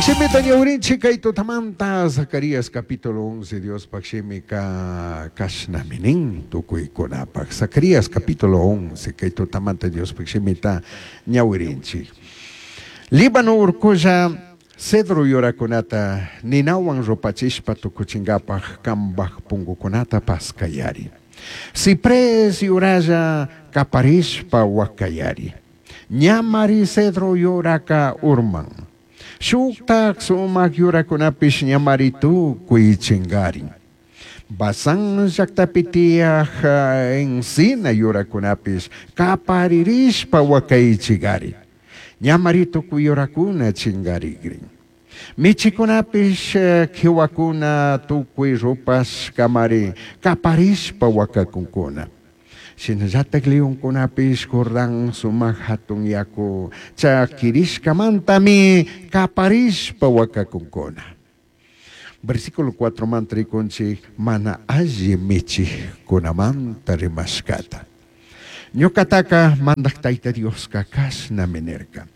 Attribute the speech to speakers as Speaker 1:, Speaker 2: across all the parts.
Speaker 1: Shimita ñawrinchik kay tutamanta Zacarías capítulo 11 Diospaj shimika kashnami nin tukuykunapaj. Zacarías capítulo 11 kay tutamanta Diospaj shimita ñawirinchik. Líbano urkulla cedro yurakunata ninawan rupachishpa tukuchinkapaj kambaj pungukunata paskayari. Ciprés yuralla kaparishpa wakayari. Ñamari cedro yuraka urman. Shuktak sumak yurakunapish ñamari tukuy chingarin. Basán llaktapi tiyaj encina yurakunapish kaparirishpa wakaychigari. Ñamari tukuy yurakuna chingarigrin. Michikunapish kiwakuna tukuy rupashkamari kaparishpa wakakunkuna. Shinallatak leonkunapish Jordán sumak hatun yaku chakirishkamantami kaparishpa wakakunkuna. Versículo 4 manta rikunchik mana alli michikkunamanta rimashkata. Ñukataka mandak Tayta Dioska kashnami nirka.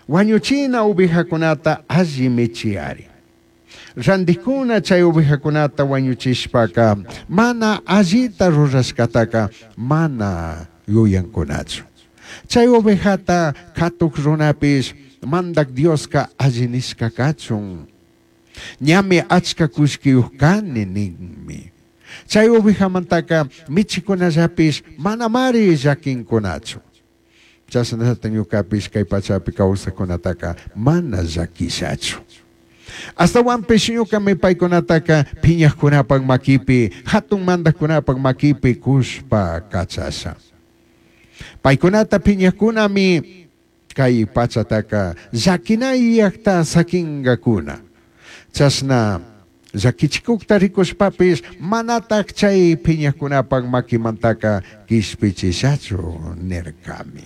Speaker 1: Wañuchina ovejakunata alli michiyari. Randikuna chay ovejakunata wañuchishpaka mana allita rurashkataka mana yuyankunachu. Chay ovejata katuk runapish mandak Dioska alli nishka kachun. Ñami achka kullkiyuq kani ninmi. Chay ovejamantaka michikunallapish manamari llakinkunachu. Chashnallata ñukapish kay pachapi kawsakkunataka mana llakishachu. Astawanpish ñukami paykunataka phiñakkunapak makipi, hatun mandakkunapak makipi kushpa kachasha. Paykunata phiñakkunami kay pachataka llakinayakta sakinkakuna. Chashna llakichikukta rikushpapish manatak chay phiñakkunapak makimantaka kishpichishachu nirkami.